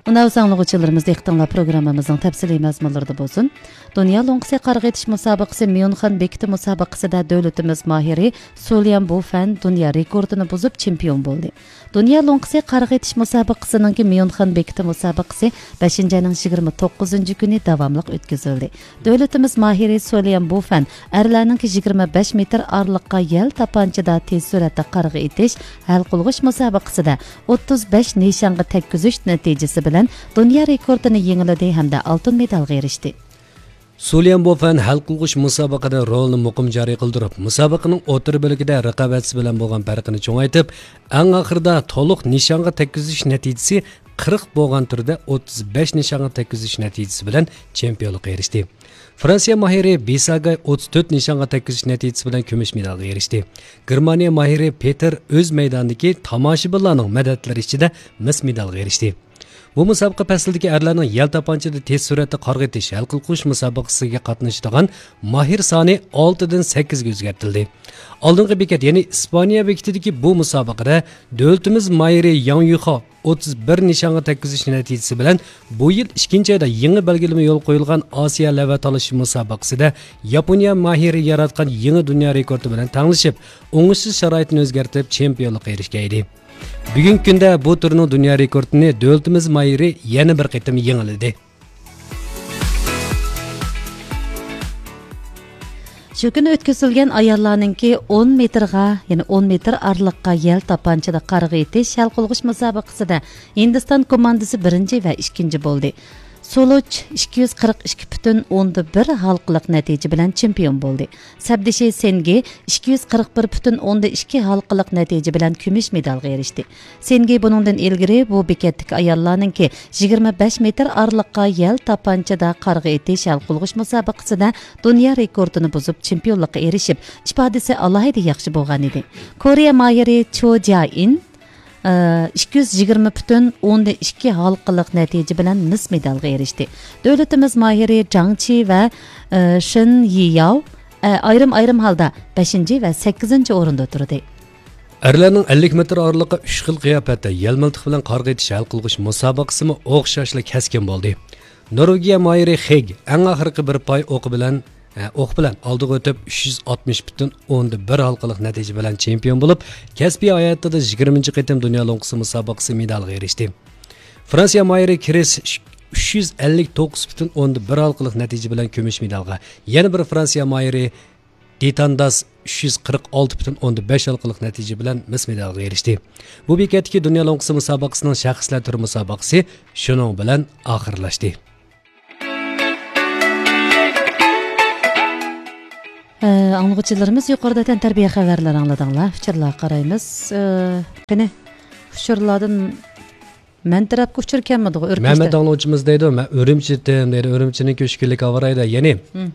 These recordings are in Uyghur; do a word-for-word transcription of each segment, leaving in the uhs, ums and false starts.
مۇناۋىس ئاڭلىغۇچىلىرىمىز، دىققىتىڭلار پروگراممىمىزنىڭ تەپسىلىي مەزمۇنلىرىدا بولسۇن. دۇنيا لوڭقىسى قارىغا ئېتىش مۇسابىقىسى ميۇنخېن بېكىتى مۇسابىقىسىدە دۆلىتىمىز ماھىرى سۇليان بۇفەن دۇنيا رېكورتىنى بۇزۇپ چېمپىيون بولدى. دۇنيا لوڭقىسى قارىغا ئېتىش مۇسابىقىسىنىڭكى ميۇنخېن بېكىتى مۇسابىقىسى بەشىنچى ئاينىڭ يىگىرمە توققۇزىنچى كۈنى داۋاملىق ئۆتكۈزۈلدى. دۆلىتىمىز ماھىرى سوليان بۇفەن ئەرلەرنىڭكى يىگىرمە بەش مېتىر ئارىلىققا يەل تاپانچىدا تېز سۈرئەتتە قارىغا ئېتىش ھەل قىلغۇچ مۇسابىقىسىدە ئوتتۇز بەش نىشانغا تەگكۈزۈش نەتىجىسى بىلەن دۇنيا رېكورتىنى يېڭىلىدى ھەمدە ئالتۇن مېدالغا ئېرىشتى. سۇليان بوفەن ھەل قىلغۇچ مۇسابىقىدە رولىنى مۇقىم جارى قىلدۇرۇپ، مۇسابىقىنىڭ ئوتتۇرا بۆلىكىدە رىقابەتچىسى بىلەن بولغان پەرقىنى چوڭايتىپ، ئەڭ ئاخىرىدا تولۇق نىشانغا تەگكۈزۈش نەتىجىسى قىرىق بولغان تۈردە ئوتتۇز بەش نىشانغا تەگكۈزۈش نەتىجىسى بىلەن چېمپىيونلۇققا ئېرىشتى. فرانسىيە ماھىرى بېساگاي ئوتتۇز تۆت نىشانغا تەگكۈزۈش نەتىجىسى بىلەن كۈمۈش مېدالغا ئېرىشتى. گېرمانىيە ماھىرى پېتېر ئۆز مەيدانىدىكى تاماشىبىنلارنىڭ مەدەتلىرى ئىچىدە مىس مېدالغا ئېرىشتى. بۇ مۇسابىقە پەسلىدىكى ئەرلەرنىڭ يەل تاپانچىدا تېز سۈرئەتتە قارغا ئېتىش ھەل قىلغۇچ مۇسابىقىسىگە قاتنىشىدىغان ماھىر سانى ئالتىدىن سەككىزگە ئۆزگەرتىلدى. ئالدىنقى بېكەت، يەنى ئىسپانىيە بېكىتىدىكى بۇ مۇسابىقىدە دۆلىتىمىز ماھىرى ياڭ يۈخاۋ ئوتتۇز بىر نىشانغا تەگكۈزۈش نەتىجىسى بىلەن بۇ يىل ئىككىنچى ئايدا يېڭى بەلگىلىمە يولغا قويۇلغان ئاسىيا لەۋھە تالىشىش مۇسابىقىسىدە ياپونىيە ماھىرى ياراتقان يېڭى دۇنيا رېكورتى بىلەن تەڭلىشىپ، ئوڭۇشسىز شارائىتنى ئۆزگەرتىپ، چېمپىيونلۇققا ئېرىشكەن ئىدى. بۈگۈنكى كۈندە بۇ تۈرنىڭ دۇنيا رېكورتىنى دۆلىتىمىز ماھىرى يەنە بىر قېتىم يېڭىلىدى. شۇ كۈنى ئۆتكۈزۈلگەن ئاياللارنىڭكى ئون مېتىرغا، يەنى ئون مېتىر ئارىلىققا يەل تاپانچىدا قارغا ئېتىش ھەل قىلغۇچ مۇسابىقىسىدە ھىندىستان كوماندىسى بىرىنچى ۋە ئىككىنچى بولدى. سولۇچ ئىككى يۈز قىرىق ئىككى پۈتۈن ئوندىن بىر ھالقىلىق نەتىجە بىلەن چېمپىيون بولدى. سەپدىشى سېنگې ئىككى يۈز قىرىق بىر پۈتۈن ئوندىن ئىككى ھالقىلىق نەتىجە بىلەن كۈمۈش مېدالغا ئېرىشتى. سېنگې بۇنىڭدىن ئىلگىرى بۇ بېكەتتىكى ئاياللارنىڭكى يىگىرمە بەش مېتىر ئارىلىققا يەل تاپانچىدا قارغا ئېتىش ھەل قىلغۇچ مۇسابىقىسىدە دۇنيا رېكورتىنى بۇزۇپ، چېمپىيونلۇققا ئېرىشىپ، ئىپادىسى ئالاھىدە ياخشى بولغانىدى. كورېيە ماھىرى چو جيائىن، ئىككى يۈز يىگىرمە پۈتۈن ئوندىن ئىككى ھالقىلىق نەتىجە بىلەن مىس مېدالغا ئېرىشتى. دۆلىتىمىز ماھىرى جاڭ چى ۋە، شېن يىياۋ، ئايرىم-ئايرىم ھالدا بەشىنچى ۋە سەككىزىنچى ئورۇندا تۇردى. ئەرلەرنىڭ ئەللىك مېتىر ئارىلىققا ئۈچ خىل قىياپەتتە يەل مىلتىقى بىلەن قارغا ئېتىش ھەل قىلغۇچ مۇسابىقىسىمۇ ئوخشاشلا كەسكىن بولدى. نورۋېگىيە ماھىرى خېگ ئەڭ ئاخىرقى بىر پاي ئوقى بىلەن، ئە، ئوق بىلەن ئالدىغا ئۆتۈپ، ئۈچ يۈز ئاتمىش پۈتۈن ئوندىن بىر ھالقىلىق نەتىجە بىلەن چېمپىيون بولۇپ، كەسپىي ھاياتىدا يىگىرمىنچى قېتىم دۇنيا لوڭقىسى مۇسابىقىسى مېدالىغا ئېرىشتى. فرانسىيە ماھىرى كرىس ئۈچ يۈز ئەللىك توققۇز پۈتۈن ئوندىن بىر ھالقىلىق نەتىجە بىلەن كۈمۈش مېدالغا، يەنە بىر فرانسىيە ماھىرى دىتانداس ئۈچ يۈز قىرىق ئالتە پۈتۈن ئوندىن بەش ھالقىلىق نەتىجە بىلەن مىس مېدالغا ئېرىشتى. بۇ بېكەتتىكى دۇنيا لوڭقىسى مۇسابىقىسىنىڭ شەخسلەر تۈرى مۇسابىقىسى شۇنىڭ بىلەن ئاخىرلاشتى. ئە، ئاڭلىغۇچىلىرىمىز، يۇقىرىدا تەنتەربىيە خەۋەرلىرى ئاڭلىدىڭلار. ئۇچۇرلارغا قارايمىز. ئە، قېنى، ئۇچۇرلاردىن مەن تەرەپكە ئۇچۇر كەلمىدىغۇ، ئۆركەشتە. مەمەت ئاڭلىغۇچىمىز دەيدۇ، مەن ئۈرۈمچىدىن دەيدۇ، ئۈرۈمچىنىڭكى ئۈچ كۈنلۈك ھاۋا رايىدا، يەنى مم.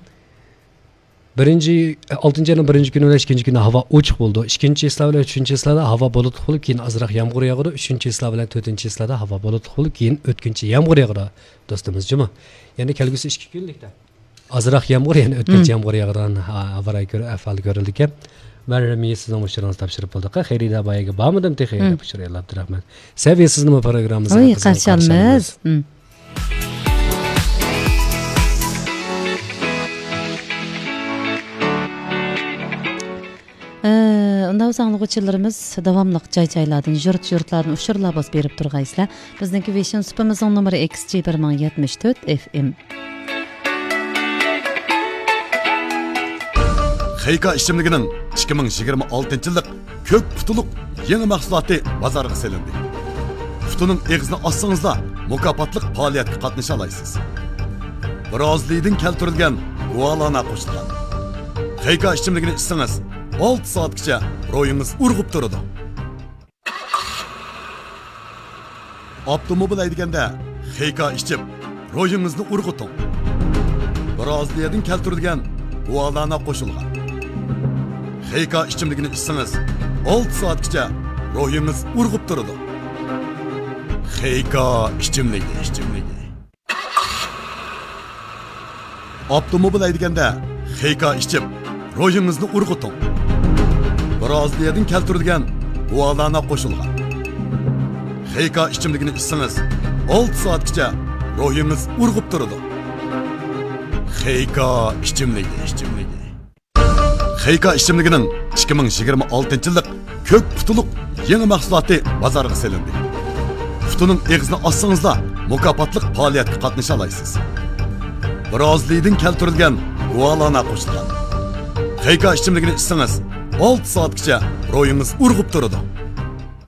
بىرىنچى، ئالتىنچى ئاينىڭ بىرىنچى كۈنى بىلەن ئىككىنچى كۈنى ھاۋا ئوچۇق بولىدۇ. ئىككىنچى چىسلا بىلەن ئۈچىنچى چىسلادا ھاۋا بۇلۇتلۇق بولۇپ، كېيىن ئازراق يامغۇر ياغىدۇ. ئۈچىنچى چىسلا بىلەن تۆتىنچى چىسلادا ھاۋا بۇلۇتلۇق بولۇپ، كېيىن ئۆتكۈنچى يامغۇر ياغىدۇ، دوستىمىز جۇمۇ. يەنى كەلگۈسى ئىككى كۈنلۈكتە ئازراق يامغۇر، يەنە ئۆتكۈنچى مم. يامغۇر ياغىدىغان ھا-، ھاۋا رايى كۆر-، ئەھۋالى كۆرۈلىدىكەن. مەن رەمىيە سىزنىڭ ئۇچۇرىڭىزنى تاپشۇرۇپ بولدۇق. خېرىدار بايىگە بارمىدىم تېخى، مم. دەپ ئۇچۇر يوللاپتۇ. رەھمەت. سەۋىيە سىزنىمۇ پروگراممىمىزغا ۋاي، قىزغىن قارشى قارشى ئالىمىز. ئالىمىز. مم. ئە، ئۇنداق بولسا ئاڭلىغۇچىلىرىمىز داۋاملىق جاي-جايلاردىن، يۇرت-يۇرتلاردىن ئۇچۇرلار بولسا بېرىپ تۇرغايسىلەر. بىزنىڭكى ۋېشىن سۇپىمىزنىڭ نومۇرى ئېكس جى بىر مىڭ يەتمىش تۆت ئېف ئېم. خېيكا ئىچىملىكىنىڭ ئىككى مىڭ يىگىرمە ئالتىنچى يىللىق كۆك پۇتىلىق يېڭى مەھسۇلاتى بازارغا سېلىندى. پۇتىنىڭ ئېغىزىنى ئاچسىڭىزلا، مۇكاپاتلىق پائالىيەتكە قاتنىشالايسىز. برازىلىيىدىن كەلتۈرۈلگەن گۇالانا قوشۇلغان خېيكا ئىچىملىكىنى ئىچسىڭىز، ئالتە سائەتكىچە روھىڭىز ئۇرغۇپ تۇرىدۇ. ئاپتوموبىل ھەيدىگەندە خېيكا ئىچىپ، روھىڭىزنى ئۇرغۇتۇڭ. برازىلىيەدىن كەلتۈرۈلگەن گۇالانا قوشۇلغان خېيكا ئىچىملىكىنى ئىچسىڭىز، ئالتە سائەتكىچە روھىڭىز ئۇرغۇپ تۇرىدۇ. خېيكا ئىچىملىكى، ئىچىملىكى. ئاپتوموبىل ھەيدىگەندە خېيكا ئىچىپ، روھىڭىزنى ئۇرغۇتۇڭ. برازىلىيەدىن كەلتۈرۈلگەن گۇالانا قوشۇلغان خېيكا ئىچىملىكىنى ئىچسىڭىز، ئالتە سائەتكىچە روھىڭىز ئۇرغۇپ تۇرىدۇ. خېيكا ئىچىملىكى، ئىچىملىكى. خېيكا ئىچىملىكىنىڭ ئىككى مىڭ يىگىرمە ئالتىنچى يىللىق كۆك پۇتىلىق يېڭى مەھسۇلاتى بازارغا سېلىندى. پۇتىنىڭ ئېغىزىنى ئاچسىڭىزلا، مۇكاپاتلىق پائالىيەتكە قاتنىشالايسىز. برازىلىيىدىن كەلتۈرۈلگەن گۇالانا قوشۇلغان. خېيكا ئىچىملىكىنى ئىچسىڭىز، ئالتە سائەتكىچە روھىڭىز ئۇرغۇپ تۇرىدۇ.